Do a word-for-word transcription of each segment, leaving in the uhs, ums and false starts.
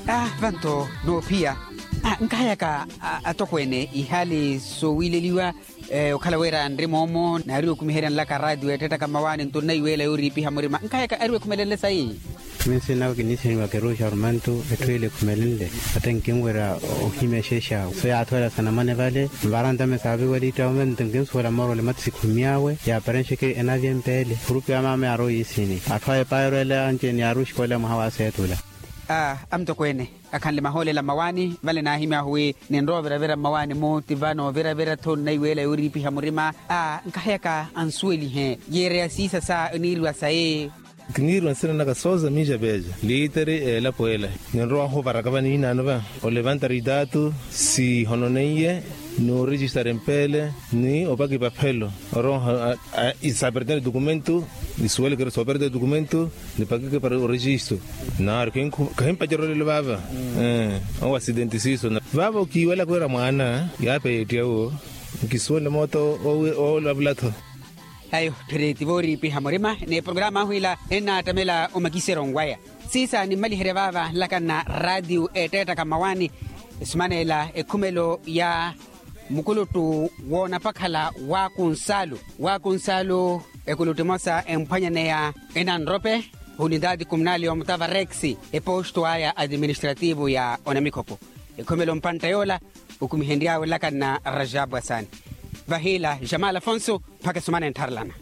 Ah, vanto noophiya. Ah, nkahayaka atokweene ihaali soowileliwa okhala wira nri moomo naari okumiheryanlaka raatiyo eettaka mmawaani nto nnaiweela yooriipiha murima nkahayaka ari wekhumelenle sayi. Minsi nawe kinisihiwa keruuxa ormantu etthu ile ekhumelenle. Ate nkinwerya ohimya exeexawe so yaathowerya sanamane vale. Nvarantame saaviwelitta ome nto nkinsuwela moorole mati sikhumiyawe yaaparenxeke enavya empeele khurupi ya maama yaarowa yiisini atthu aya epaayerweela anci-ene yaaruxikolela mwaha wa aseetula. Amutokweene akhanle mahoolela mmawaani vale naahimyahu wi ninrowa oviravira mmawaani-mu ti vano oviravira-tho nnaiweela yooriipiha murima. Nkaheyaka ansuwelihe yeereya siisa sa eniiriwa sayi. Kiniiriwa nsina naka sooza miixa peeja liiteri eelapo ela. Ninrowahu ovaraka vaniinaano va olevanta ritaatu sihononeiye noorijistara empeele ni opaka ipaphelo. Oroha isapertene dokumento nisuwelekere soopertene dokumento nipakeke para orejisto. Naaru kahimpacerya olelo vaava. Owo asidenti siiso vaava okiiwelaka wira mwaana yaapeya ettiya uwo. Nkisuwele moota oolavula-tho. Ayo tthiri ti vooriipiha murima ni programa ahu ila ennaattamela omakiseryo waya. Siisa nimmaliherya vaava nlakanna raatiyo eetteettaka mmawaani esumaneela ekhumelo ya mukuluttu woonapakhala waakunsalu waakunsalu. Ekuluttu emosa emphwanyaneya enanrope unitaati kumunali omutava rex eposto aya administrativo ya onamikhopo. Ekhumelo mpantta yoola okumihenry'awe nlakanna rajabu asaani. Vahiila jamal afonso mpakha esumana enttharelana.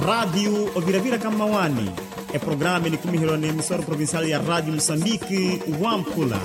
Raatiyo oviraviraka mmawaani eprograma enikumiheryiwa n'emisoro provincial ya raatiyo musambiki wampula.